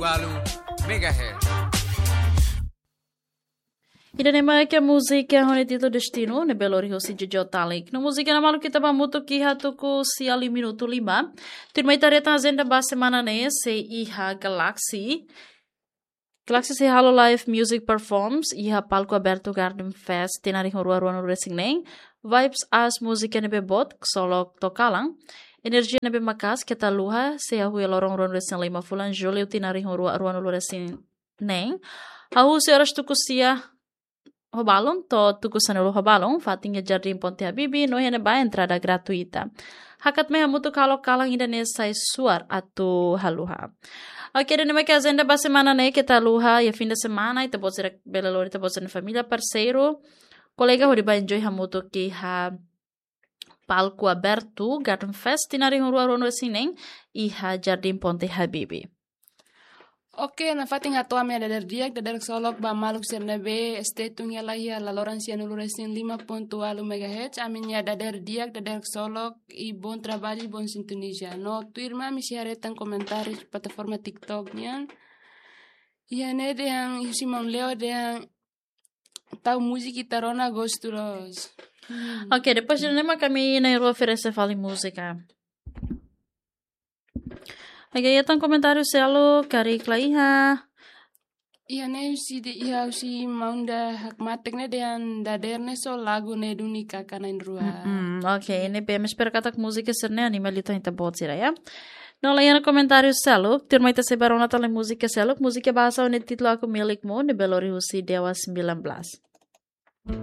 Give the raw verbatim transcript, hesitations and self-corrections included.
Walu megahertz. Ida-ne'e mak múzika ho nia títulu Destinu, ne'ebé lori husi Jojo Talik. No múzika ne'e maluk ita ba hamutuk iha tuku sia liu minutu lima. Tuirmai ita haree tan ajenda ba semana ne'e, sei iha Galaxy. Galaxy sei halo live music performance iha palku abertu Garden Fest tinan rihun rua ruanulu resin neen. Vibes As múzika ne'ebé boot, Ksolok to'o kalan. Enerjia ne'ebé maka'as, Keta Haluha, sei hahú iha loron ruanulu resin lima fulan Jullu tinan rihun rua ruanulu resin neen. Hahú husi oras tuku sia ho balun to'o tuku sanulu ho balun, fatin iha Jardín Ponte Habibie, no iha ne'ebá entrada gratuita. Hakat mai hamutuk halo kalan ida-ne'e sai suar atu haluha. Oke, ida-ne'e mak ajenda ba semana ne'e, Keta Haluha, iha fim de semana, ita-boot sira bele lori ita-boot sira-nia família, parseiru, kolega hodi ba enjoy hamutuk iha palku abertu Garden Fest tinan rihun rua ruanulu resin neen iha Jardín Ponte Habibie. Oke, nafatin hato'o ami-nia dadeer di'ak, dadeer ksolok ba maluk sira ne'ebé stay tune hela iha laloran sianulu resin lima pontu walu megahertz, ami-nia dadeer di'ak, dadeer ksolok i bom trabalho, bom sintonia. No tuirmai ami sei haree tan komentáriu plataforma TikTok nian. Iha ne'e dehan husi maun Leo dehan tau múzika ita rona gostu loos. Hmm. Oke, depois de ne'e mak ami na'in-rua oferese fali múzika. Oke, iha tan komentáriu seluk karik la iha. Iha ne'e husi de, iha husi maun Ida Hakmatek ne'e dehan dadeer ne'e só lagu ne'e duni kaka na'in-rua. Mm-mm, oke, ne'ebé ami espera katak múzika sira-ne'e anima liután ita-boot sira, ya. No la iha komentáriu seluk, tuirmai ita sei ba rona tan múzika seluk, múzika bahasa ho nia títulu Aku Milikmu, ne'ebé lori husi Dewa sembilan belas.